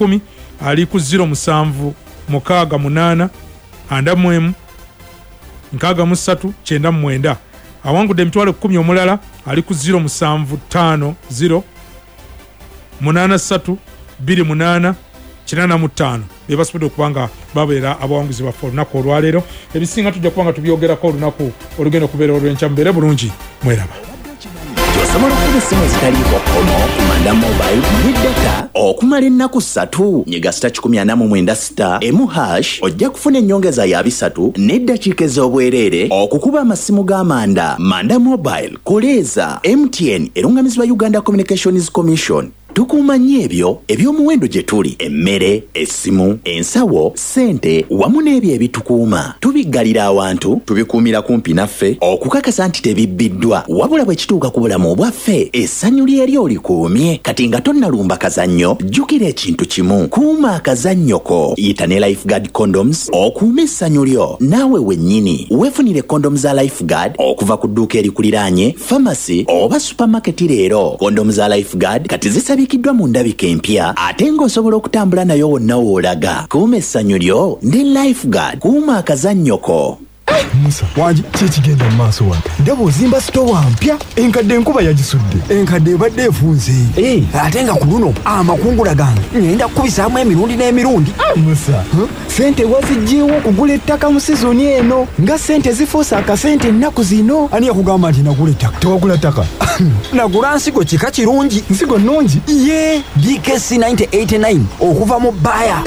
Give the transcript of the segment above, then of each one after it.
10,000 ali ku 07 68 41 63 99. Awangudde 10,000 omulala ali ku 07 50 83 28 85. Bebasobodde okuba nga babeera abawanguzi baffe olunaku olwaleero. Ebisinga tujja kuba nga tubyogerako olunaku olugenda okubeera olw'enkya. Mubeere bulungi, mweraba. Osobola okukuba essimu ezitaliiko kkomo ku Manda Mobile ne data okumala ennaku 3. Nyiga star 149 star emu hash, ojja kufuna ennyongeza ya 3 n'eddakiika ez'obwereere okukuba amasimu g'amanda. Manda Mobile, koleeza. MTN erungamizibwa Uganda Communications Commission. Tukuuma nnyo ebyo eby'omuwendo gye tuli: emmere, essimu, ensawo, ssente wamu n'ebyo ebitukuuma. Tubiggalira awantu, tubikuumira kumpi naffe okukakasa nti tebibbiddwa. Wabula bwe kituuka ku bulamu bwaffe, essanyu lyeri olikuumye. Kati nga tonnalumba kazannyo, jjukira ekintu kimu: kuuma akazannyo ko. Yita ne Lifeguard condoms okuume essanyu lyo naawe wennyini. Weefunire kondomu za Lifeguard okuva ku dduuka erikuliraanye, famasi oba supermarket leero. Kondomu za Lifeguard kati zisabikiddwa mu ndabika empya, ate ng'osobola okutambula nayo wonna w'olaga. Kuuma essanyu lyo ne Lifeguard. Kuuma akazannyo ko. Musa, wangi, kikigenda mu maaso wano? Ndaba ozimba sitowa mpya, enkadde enkuba yagisudde. Enkadde ebadde efunze, ate nga ku luno amakungula gange ngenda kukubisaamu emirundi n'emirundi. Musa, sente waziggyeewo okugula ettaka mu sizoni eno, nga sente zifuuse akasente ennaku zino? Ani yakugamba nti nagula ettaka? Tewagula ttaka? Nagula nsigo kika kirungi. Nsigo nnungi? Ye DKC 9089 okuva mu Bayer.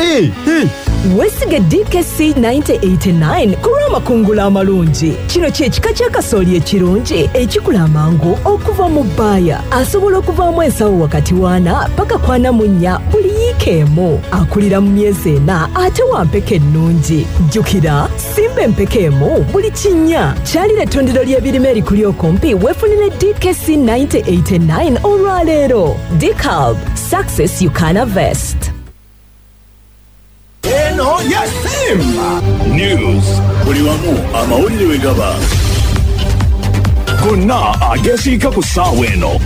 Weesige DKC 9089 ku lw'amakungula amalungi. Kino kye kika ky'akasooli ekirungi ekikula amangu okuva mu Bayer. Asobola okuvaamu ensawo wakati w'ana paka ku 44 buli yiika emu. Akulira mu myezi 4 ate wa mpeke ennungi. Jjukira, simba empeke emu buli kinnya. Kyalira ettundiro ly'ebirime erikuli okumpi weefunire DKC 9089 olwaleero. DeKalb, success you can harvest. Eno ya Simba News, buli wamu amawulire we gaba gonna agesiika ku ssaawa eno.